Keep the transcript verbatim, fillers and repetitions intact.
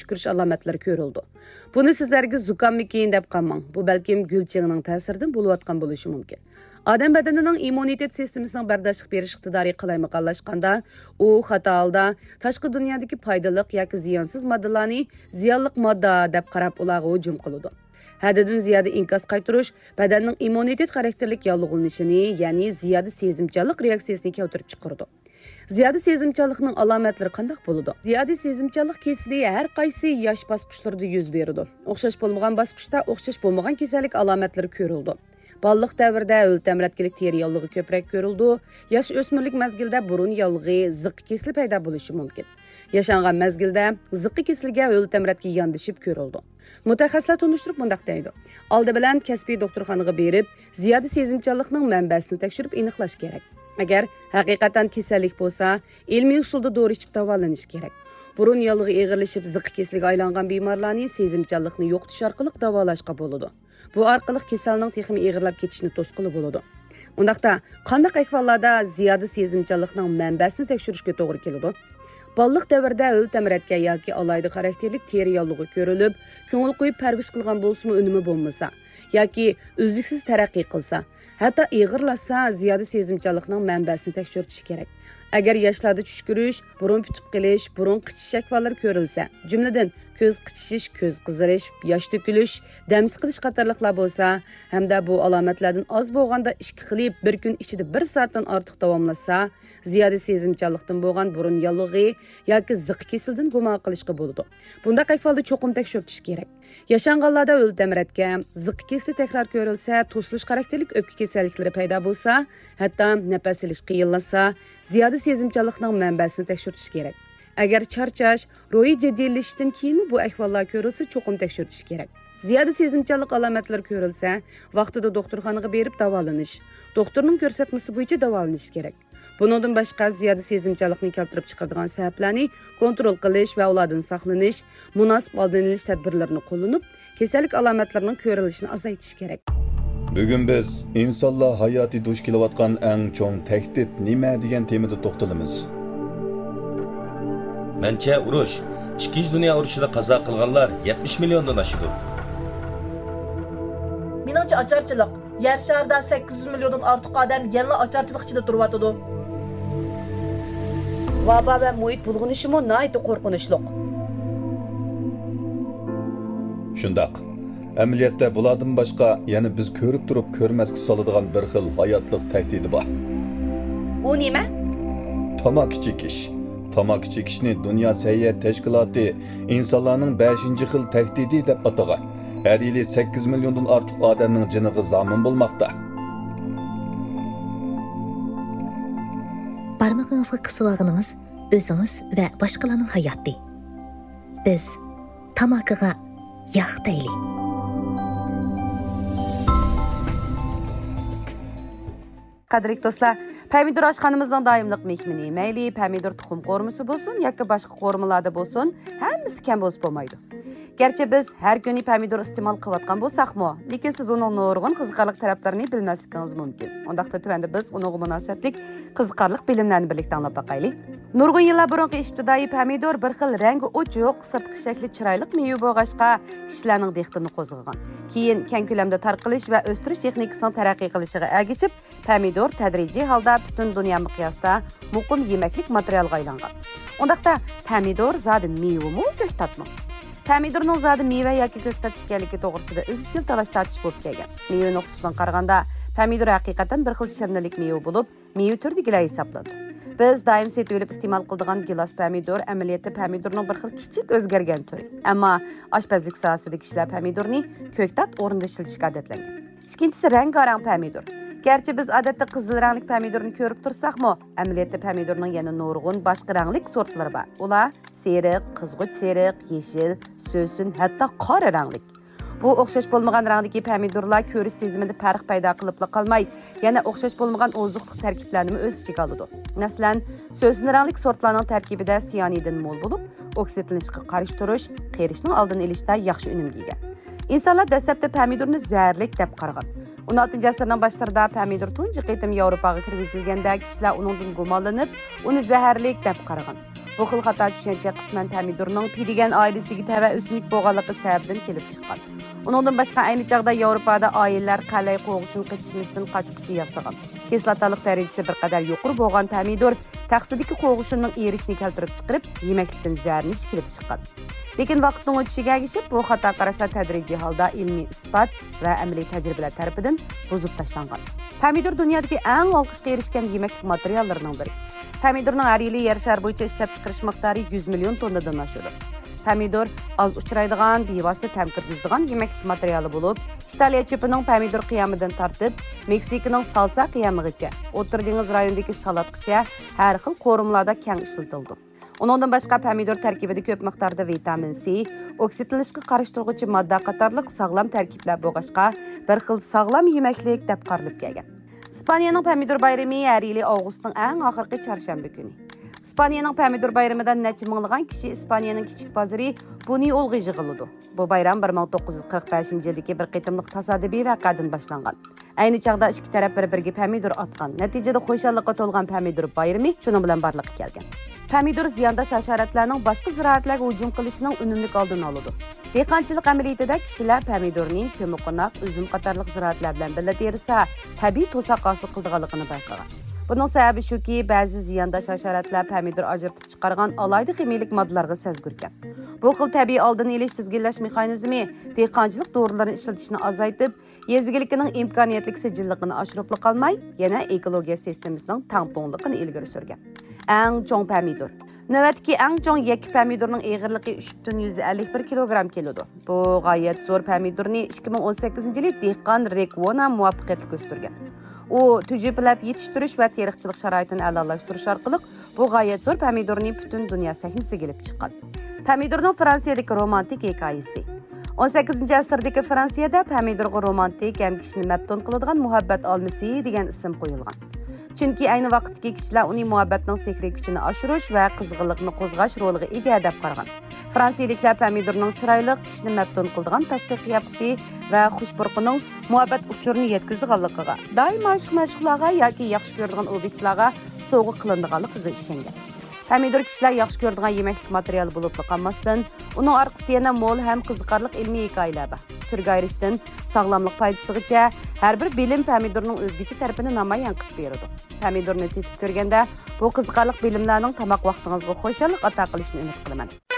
تۈكۈرۈش ئالامەتلىرى كۆرۈلىدۇ. بۇنى سىزلەرگە زۇكاممىكىن دەپ قالماڭ، بۇ بەلكىم گۈل چېڭىنىڭ تەسىرىدىن بولۇۋاتقان بولۇشى مۇمكىن. ئادەم بەدىنىنىڭ ئىممۇنىتېت سىستېمىسىنىڭ بەرداشلىق بېرىش ئىقتىدارى قالايمىقانلاشقاندا، ئۇ خاتا ھالدا تاشقى دۇنيادىكى پايدىلىق ياكى زىيانسىز ماددىلارنى زىيانلىق ماددا دەپ قاراپ، ئۇلارغا ھۇجۇم قىلىدۇ. ھەددىدىن زىيادە ئىنكاس قايتۇرۇش بەدەننىڭ ئىممۇنىتېت خاراكتېرلىك ياللۇغلىنىشىنى، يەنى زىيادە سېزىمچانلىق رېئاكسىيىسىنى كەلتۈرۈپ چىقىرىدۇ. زىيادە سېزىمچانلىقنىڭ ئالامەتلىرى قانداق بولىدۇ؟ زىيادە سېزىمچانلىق كېسىلى ھەر قايسى ياش باسقۇچلىرىدا يۈز بېرىدۇ. ئوخشاش بولمىغان باسقۇچتا ئوخشاش بولمىغان كېسەللىك ئالامەتلىرى كۆرۈلىدۇ. بالىلىق دەۋرىدە ھۆل تەمرەتكىلىك تېرە ياللۇغى كۆپرەك كۆرۈلىدۇ. ياش ئۆسمۈرلۈك مەزگىلدە بۇرۇن ياللۇغى، زىققا كېسىلى پەيدا بولۇشى مۇمكىن. ياشانغان مەزگىلدە زىققا كېسىلىگە ھۆل تەمرەتكە ياندىشىپ كۆرۈلىدۇ. مۇتەخەسسىسلەر تونۇشتۇرۇپ مۇنداق دەيدۇ: ئالدى بىلەن كەسپىي دوختۇرخانىغا بېرىپ، زىيادە سېزىمچانلىقنىڭ مەنبەسىنى تەكشۈرۈپ ئېنىقلاش كېرەك. ئەگەر ھەقىقەتەن كېسەللىك بولسا، ئىلمىي ئۇسۇلدا دورا ئىچىپ داۋالىنىش كېرەك. بۇرۇن ياللۇغى ئېغىرلىشىپ، زىققا كېسىلىگە ئايلانغان بىمارلارنى سېزىمچانلىقنى يوقىتىش ئارقىلىق داۋالاشقا بولىدۇ. بۇ ئارقىلىق كېسەلنىڭ تېخىمۇ ئېغىرلاپ كېتىشىنى توسقىلى بولىدۇ. ئۇنداقتا، قانداق ئەھۋاللاردا زىيادە سېزىمچانلىقنىڭ مەنبەسىنى تەكشۈرۈشكە توغرا كېلىدۇ؟ بالىلىق دەۋرىدە ھۆل تەمرەتكە ياكى ئالاھىدە خاراكتېرلىك تېرە ياللۇغى كۆرۈلۈپ، كۆڭۈل قويۇپ پەرۋىش قىلغان بولسىمۇ، ئۈنۈمى بولمىسا ياكى ئۈزلۈكسىز تەرەققىي قىلسا، ھەتتا ئېغىرلاشسا، زىيادە سېزىمچانلىقنىڭ مەنبەسىنى تەكشۈرتۈش كېرەك. ئەگەر ياشلاردا چۈشكۈرۈش، بۇرۇن پۈتۈپ قېلىش، بۇرۇن قىچىشىش ئەھۋاللىرى كۆرۈلسە، جۈملىدىن كۆز قىچىشىش، كۆز قىزىرىش، ياش تۆكۈلۈش، دەم سىقىلىش قاتارلىقلار بولسا، ھەمدە بۇ ئالامەتلەردىن ئاز بولغاندا ئىككى خىلى بىر كۈن ئىچىدە بىر سائەتتىن ئارتۇق داۋاملاشسا، زىيادە سېزىمچانلىقتىن بولغان بۇرۇن ياللۇغى ياكى زىققا كېسىلىدىن گۇمان قىلىشقا بولىدۇ. بۇنداق ئەھۋالدا چوقۇم تەكشۈرتۈش كېرەك. ياشانغانلاردا ھۆل تەمرەتكە، زىققا كېسىلى تەكرار كۆرۈلسە، توسۇلۇش خاراكتېرلىك ئۆپكە كېسەللىكلىرى پەيدا بولسا، ھەتتا نەپەس ئېلىش قىيىنلاشسا، زىيادە سېزىمچانلىقنىڭ مەنبەسىنى تەكشۈرتۈش كېرەك. ئەگەر چارچاش، روھىي جىددىيلىشىشتىن كېيىنمۇ بۇ ئەھۋاللار كۆرۈلسە، چوقۇم تەكشۈرتۈش كېرەك. زىيادە سېزىمچانلىق ئالامەتلىرى كۆرۈلسە، ۋاقتىدا دوختۇرخانىغا بېرىپ داۋالىنىش، دوختۇرنىڭ كۆرسەتمىسى بويىچە داۋالىنىش كېرەك. بۇنىڭدىن باشقا، زىيادە سېزىمچانلىقنى كەلتۈرۈپ چىقىرىدىغان سەۋەبلەرنى كونترول قىلىش ۋە ئۇلاردىن ساقلىنىش، مۇناسىپ ئالدىنى ئېلىش تەدبىرلىرىنى قوللىنىپ، كېسەللىك ئالامەتلىرىنىڭ كۆرۈلۈشىنى ئازايتىش كېرەك. بۈگۈن بىز ئىنسانلار ھاياتى دۇچ كېلىۋاتقان ئەڭ چوڭ تەھدىت نېمە دېگەن تېمىدا توختىلىمىز. مەنچە، ئۇرۇش، ئىككىنچى دۇنيا ئۇرۇشىدا قازا قىلغانلار يەتمىش مىليوندىن ئاشىدۇ. مېنىڭچە ئاچارچىلىق. يەر شارىدا سەككىز يۈز مىليوندىن ئارتۇق ئادەم يەنىلا ئاچارچىلىق ئىچىدە تۇرۇۋاتىدۇ. ۋابا ۋە مۇھىت بۇلغىنىشىمۇ ناھايىتى قورقۇنچلۇق. شۇنداق. ئەمەلىيەتتە بۇلاردىن باشقا يەنە بىز كۆرۈپ تۇرۇپ كۆرمەسكە سالىدىغان بىر خىل ھاياتلىق تەھدىتى بار. ئۇ نېمە؟ تاماكا چېكىش. تاماكا چېكىشنى دۇنيا سەھىيە تەشكىلاتى ئىنسانلارنىڭ بەشىنچى خىل تەھدىتى دەپ ئاتىغان. ھەر يىلى سەككىز مىليوندىن ئارتۇق ئادەمنىڭ جېنىغا زامىن بولماقتا. بارمىقىڭىزغا قىسىۋالغىنىڭىز ئۆزىڭىز ۋە باشقىلارنىڭ ھاياتى. بىز تاماكىغا ياق دەيلى. قەدىرلىك دوستلار، پەمىدۇر ئاشخانىمىزنىڭ دائىملىق مېھمىنى. مەيلى پەمىدۇر تۇخۇم قورۇمىسى بولسۇن ياكى باشقا قورۇمىلاردا بولسۇن، ھەممىسى كەم بولسا بولمايدۇ. گەرچە بىز ھەر كۈنى پەمىدۇر ئىستېمال قىلىۋاتقان بولساقمۇ، لېكىن سىز ئۇنىڭ نۇرغۇن قىزىقارلىق تەرەپلىرىنى بىلمەسلىكىڭىز مۇمكىن. ئۇنداقتا تۆۋەندە بىز ئۇنىڭغا مۇناسىۋەتلىك قىزىقارلىق بىلىملەرنى بىرلىكتە ئاڭلاپ باقايلى. نۇرغۇن يىللار بۇرۇنقى ئىپتىدائىي پەمىدۇر بىر خىل رەڭگى ئوچۇق، سىرتقى شەكلى چىرايلىق مېۋە بولغاچقا، كىشىلەرنىڭ دىققىتىنى قوزغىغان. كېيىن كەڭ كۆلەمدە تارقىلىش ۋە ئۆستۈرۈش تېخنىكىسىنىڭ تەرەققىي قىلىشىغا ئەگىشىپ، پەمىدۇر تەدرىجىي ھالدا پۈتۈن دۇنيا مىقياسىدا مۇقىم يېمەكلىك ماتېرىيالىغا ئايلانغان. ئۇنداقتا، پەمىدۇر زادى مېۋىمۇ، كۆكتاتمۇ؟ پەمىدۇرنىڭ زادى مېۋە ياكى كۆكتات ئىكەنلىكى توغرىسىدا ئىزچىل تالاش-تارتىش بولۇپ كەلگەن. مېۋە نۇقتىسىدىن قارىغاندا، پەمىدۇر ھەقىقەتەن بىر خىل شىرنىلىك مېۋە بولۇپ، مېۋە تۈرىدىكىلەر ھېسابلىنىدۇ. بىز دائىم سېتىۋېلىپ ئىستېمال قىلىدىغان گىلاس پەمىدۇر ئەمەلىيەتتە پەمىدۇرنىڭ بىر خىل كىچىك ئۆزگەرگەن تۈرى. ئەمما ئاشپەزلىك ساھەسىدە كىشىلەر پەمىدۇرنى كۆكتات ئورنىدا ئىشلىتىشكە ئادەتلەنگەن. ئىككىنچىسى رەڭگارەڭ پەمىدۇر. گەرچە بىز ئادەتتە قىزىل رەڭلىك پەمىدۇرنى كۆرۈپ تۇرساقمۇ، ئەمەلىيەتتە پەمىدۇرنىڭ يەنە نۇرغۇن باشقا رەڭلىك سورتلىرى بار. ئۇلار سېرىق، قىزغۇچ سېرىق، يېشىل، سۆسۈن، ھەتتا قارا رەڭلىك. بۇ ئوخشاش بولمىغان رەڭدىكى پەمىدۇرلار كۆرۈش سېزىمىدە پەرق پەيدا قىلىپلا قالماي، يەنە ئوخشاش بولمىغان ئوزۇقلۇق تەركىبلەرنىمۇ ئۆز ئىچىگە ئالىدۇ. مەسىلەن، سۆسۈن رەڭلىك سورتلارنىڭ تەركىبىدە سىيانىدىن مول بولۇپ، ئوكسىدلىنىشقا قارشى تۇرۇش، قېرىشنىڭ ئالدىنى ئېلىشتا ياخشى ئۈنۈمگە ئىگە. ئىنسانلار دەسلەپتە پەمىدۇرنى زەھەرلىك دەپ قارىغان. ئون ئالتىنچى ئەسىرنىڭ باشلىرىدا پەمىدۇر تۇنجى قېتىم ياۋروپاغا كىرگۈزۈلگەندە، كىشىلەر ئۇنىڭدىن گۇمانلىنىپ، ئۇنى زەھەرلىك دەپ قارىغان. بۇ خىل خاتا چۈشەنچە قىسمەن پەمىدۇرنىڭ پى دېگەن ئائىلىسىگە تەۋە ئۆسۈملۈك بولغانلىقى سەۋەبىدىن كېلىپ چىققان. ئۇنىڭدىن باشقا، ئەينى چاغدا ياۋروپادا ئائىلىلەر قەلەي قوغۇشىنى قېچىشمىستىن قاچقۇچى ياسىغان. كىسلاتالىق دەرىجىسى بىر قەدەر يۇقىرى بولغان پەمىدۇر تەخسىدىكى قوغۇشۇننىڭ ئېرىشىنى كەلتۈرۈپ چىقىرىپ، يېمەكلىكتىن زەھەرلىنىش كېلىپ چىققان. لېكىن ۋاقىتنىڭ ئۆتۈشىگە ئەگىشىپ، بۇ خاتا قاراشلار تەدرىجىي ھالدا ئىلمىي ئىسپات ۋە ئەمەلىي تەجرىبىلەر تەرىپىدىن بۇزۇپ تاشلانغان. پەمىدۇر دۇنيادىكى ئەڭ ئالقىشقا ئېرىشكەن يېمەكلىك ماتېرىياللىرىنىڭ بىرى. پەمىدۇرنىڭ ھەر يىلى يەر شارى بويىچە ئىشلەپچىقىرىش مىقدارى يۈز مىليون توننىدىن ئاشىدۇ. پەمىدۇر ئاز ئۇچرايدىغان، بىۋاسىتە تەم كىرگۈزىدىغان يېمەكلىك ماتېرىيالى بولۇپ، ئىتالىيە چۆپىنىڭ پەمىدۇر قىيامىدىن تارتىپ، مېكسىكىنىڭ سالسا قىيامىغىچە، ئوتتۇرا دېڭىز رايونىدىكى سالاتقىچە ھەر خىل قورۇمىلاردا كەڭ ئىشلىتىلىدۇ. ئۇنىڭدىن باشقا، پەمىدۇر تەركىبىدە كۆپ مىقداردا ۋىتامىن سى، ئوكسىدلىنىشقا قارشى تۇرغۇچى ماددا قاتارلىق ساغلام تەركىبلەر بولغاچقا، بىر خىل ساغلام يېمەكلىك دەپ قارىلىپ كەلگەن. ئىسپانىيەنىڭ پەمىدۇر بايرىمى ھەر يىلى ئاۋغۇستنىڭ ئەڭ ئاخىرقى چارشەنبە كۈنى. ئىسپانىيەنىڭ پەمىدۇر بايرىمىدا نەچچە مىڭلىغان كىشى ئىسپانىيەنىڭ كىچىك بازىرى بۇنيولغا يىغىلىدۇ. بۇ بايرام بىر مىڭ توققۇز يۈز قىرىق بەشىنچى يىلدىكى بىر قېتىملىق تاسادىپىي ۋەقەدىن باشلانغان. ئەينى چاغدا ئىككى تەرەپ بىر-بىرىگە پەمىدۇر ئاتقان. نەتىجىدە خۇشاللىققا تولغان پەمىدۇر بايرىمى شۇنىڭ بىلەن بارلىققا كەلگەن. پەمىدۇر زىيانداش ھاشاراتلارنىڭ باشقا زىرائەتلەرگە ھۇجۇم قىلىشىنىڭ ئۈنۈملۈك ئالدىنى ئالىدۇ. دېھقانچىلىق ئەمەلىيىتىدە كىشىلەر پەمىدۇرنى كۆممىقوناق، ئۈزۈم قاتارلىق زىرائەتلەر بىلەن بىللە تېرىسا، تەبىئىي توساق ھاسىل قىلىدىغانلىقىنى بايقىغان. بۇنىڭ سەۋەبى شۇكى، بەزى زىيانداش ھاشاراتلار پەمىدۇر ئاجرىتىپ چىقارغان ئالاھىدە خىمىيىلىك ماددىلارغا سەزگۈركەن. بۇ خىل تەبىئىي ئالدىنى ئېلىش تىزگىنلەش مېخانىزمى دېھقانچىلىق دورىلىرىنى ئىشلىتىشنى ئازايتىپ، يېزا ئىگىلىكىنىڭ ئىمكانىيەتلىك سىجىللىقىنى ئاشۇرۇپلا قالماي، يەنە ئېكولوگىيە سىستېمىسىنىڭ تەڭپۇڭلۇقىنى ئىلگىرى سۈرگەن. ئەڭ چوڭ پەمىدۇر. نۆۋەتتىكى ئەڭ چوڭ يەككە پەمىدۇرنىڭ ئېغىرلىقى ئۈچ پۈتۈن يۈز ئەللىك بىر كىلوگرام كېلىدۇ. بۇ غايەت زور پەمىدۇرنى ئىككى مىڭ ئون سەككىزىنچى يىلى دېھقان رېك ۋونا مۇۋەپپەقىيەتلىك ئۆستۈرگەن. ئۇ تۈجۈپىلەپ يېتىشتۈرۈش ۋە تېرىقچىلىق شارائىتىنى ئەلالاشتۇرۇش ئارقىلىق بۇ غايەت زور پەمىدۇرنى پۈتۈن دۇنيا سەھنىسىگە ئېلىپ چىققان. پەمىدۇرنىڭ فرانسىيەدىكى رومانتىك ھېكايىسى. ئون سەككىزىنچى ئەسىردىكى فرانسىيەدە پەمىدۇرغا رومانتىك ھەم كىشىنى مەپتۇن قىلىدىغان مۇھەببەت ئالمىسى دېگەن ئىسىم قويۇلغان. چۈنكى ئەينى ۋاقىتتىكى كىشىلەر ئۇنى مۇھەببەتنىڭ سېھرىي كۈچىنى ئاشۇرۇش ۋە قىزغىنلىقنى قوزغاش رولىغا ئىگە دەپ قارىغان. فرانسىيىلىكلەر پەمىدۇرنىڭ چىرايلىق، كىشىنى مەپتۇن قىلىدىغان تاشقى قىياپىتى ۋە خۇش پۇرىقىنىڭ مۇھەببەت ئۇچۇرىنى يەتكۈزىدىغانلىقىغا، دائىم ئاشىق-مەشۇقلارغا ياكى ياخشى كۆرىدىغان ئوبيېكتلارغا سوۋغا قىلىنىدىغانلىقىغا ئىشەنگەن. پەمىدۇر كىشىلەر ياخشى كۆرىدىغان يېمەكلىك ماتېرىيالى بولۇپلا قالماستىن، ئۇنىڭ ئارقىسىدا يەنە مول ھەم قىزىقارلىق ئىلمىي ھېكايىلەر بار. تۈرگە ئايرىشتىن ساغلاملىق پايدىسىغىچە، ھەر بىر بىلىم پەمىدۇرنىڭ ئۆزگىچە تەرىپىنى نامايان قىلىپ بېرىدۇ. پەمىدۇرنى تېتىپ كۆرگەندە، بۇ قىزىقارلىق بىلىملەرنىڭ تاماق ۋاقتىڭىزغا خۇشاللىق ئاتا قىلىشىنى ئۈمىد قىلىمەن.